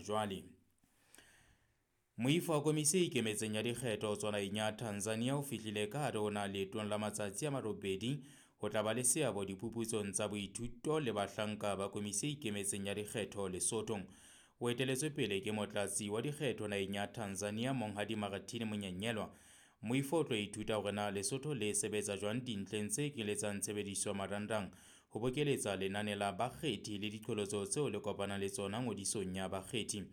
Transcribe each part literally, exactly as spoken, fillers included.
jwale. Moifo wa Komisi e Ikemetseng ya Dikgetho ho tswa naheng ya Tanzania o fihlile ka hare ho naha leetong la matsatsi a marobedi ho tla ba le seabo diphuputsong tsa boithuto le bahlanka ba Komisi e Ikemetseng ya Dikgetho Lesotho. O eteletswe pele ke motlatsi wa dikgetho naheng ya Tanzania Monghadi Martin Monyenyelwa. Moifo o tlo ithuta hore na Lesotho le sebetsa jwang dintleng tse kenyeletsang tshebediso ya marangrang ho bokeletsa lenane la bakgethi le diqholotso tseo le kopanang le tsona ngodisong ya bakgethi.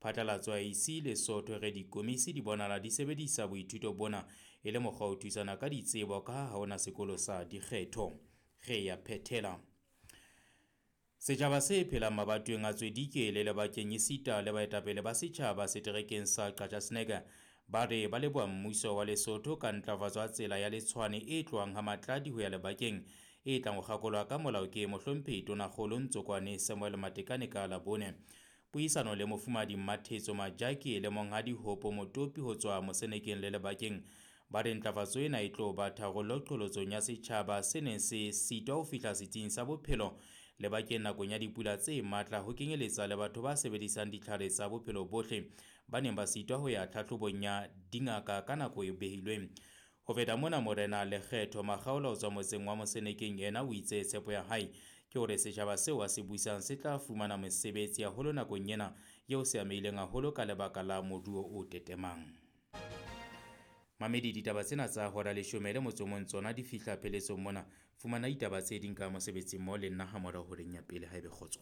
Phatlalatso ya A E C Lesotho re dikomisi di bonahala di sebedisa boithuto bona e le mokgwa ho thusana ka ditsebo ka ha hona sekolo sa dikgetho. Re ya phethela. Setjhaba se phelang mabatoweng a Tswedike le lebakeng esita le baetapele ba setjhaba seterekeng sa Qacha's Nek ba re ba leboha mmuso wa Lesotho ka ntlafatso ya tsela ya Letshwane e tlohang ha Matladi ho ya lebakeng e tlang ho kgakolwa ka molao ke mohlomphehi Tonakgolo Ntsokwane Samuel Matekane ka Labone. Puisano le mofumahadi Mmathetso Majake le monghadi Hopo Motopi ho tswa Mosenekeng le lebakeng ba re ntlafatso ena e tlo ba tharollo qholotsong ya setjhaba se neng se sitwa ho fihla setsing sa bophelo lebakeng nakong ya dipula tse matla ho kenyeletsa le batho ba sebedisang ditlhare tsa bophelo bohle ba neng ba sitwa ho ya tlhahlobong ya dingaka ka nako e behilweng. Ho feta mona, Morena Lekgetho Makgaola ho tswa motseng wa Mosenekeng yena o itse tshepo ya hae ke hore setjhaba seo a se busang se tla fumana mesebetsi haholo nakong ena eo se amehileng haholo ka lebaka la moruo o tetemang. Mamedi, ditaba tsena tsa hora leshome le motso o mong tsona di fihla pheletsong mona. Fumana ditaba tse ding ka mosebetsing mo le nna ha morao horeng ya pele haebe kgotso.